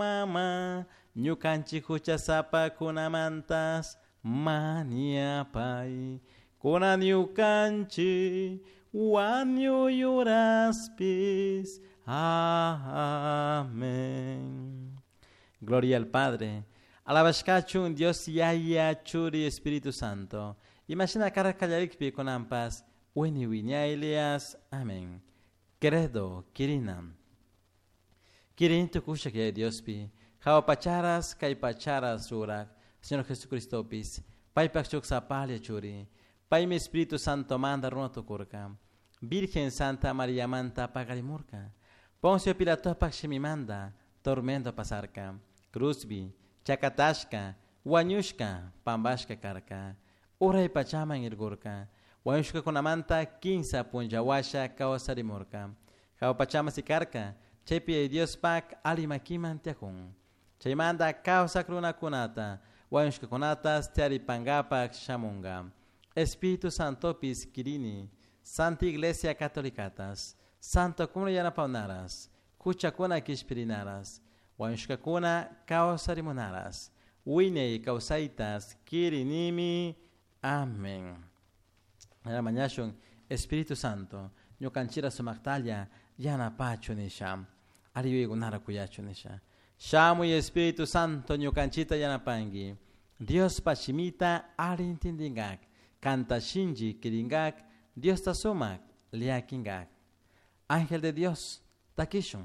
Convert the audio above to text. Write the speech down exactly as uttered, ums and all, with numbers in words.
Mama, ñukanchik huchasapakunamantas mañapay. Kunan ñukanchik wañuy uraspis. Amén. Gloria al Padre. Alabashkachun Dios Yaya Churi Espíritu Santo. Imashina karka kallarikpi kunanpas wiñay wiñaylias. Amén. Credo, kirina. Kirini tukushak Yaya Diospi. Jahua pacharas, kay pacharas rurak. Señor Jesucristopis. Paypak shuk sapalla churi. Paymi Espíritu Santo manda runa tukurka. Virgen Santa María manta paqarimurka. Poncio Pilatopak shimimanta tormento pasarka. Cruzbi, chakatashka, wañushka, pambashka karka. Uray pachaman irkurka. Wañushkakunamanta kinsa punlla washa kawsarimurka. Jahua pachaman sikarka. Chaypi Diospak ali makiman tiyakun. Chaymanta kawsak runakunata, wañushkakunata tiyaripankapak shamunka. Espíritu Santopis kirini, Santa Iglesia Catolicatas, Santokuna yanapanaras, huchakuna kishpirinaras, wañushkakuna kawsarimunaras, wiñay kawsaytas kirinimi. Amén. Mañashun Espíritu Santo, ñukanchira sumaktalla yanapachu nisha, alli yuyaykunara kuyachu nisha. Shamuy Espíritu Santo ñukanchita yanapanki, Diospa shimita alli intindinkak, kanta shinchi kirinkak, Diosta sumak llakinkak. Ángel de Dios, takishun.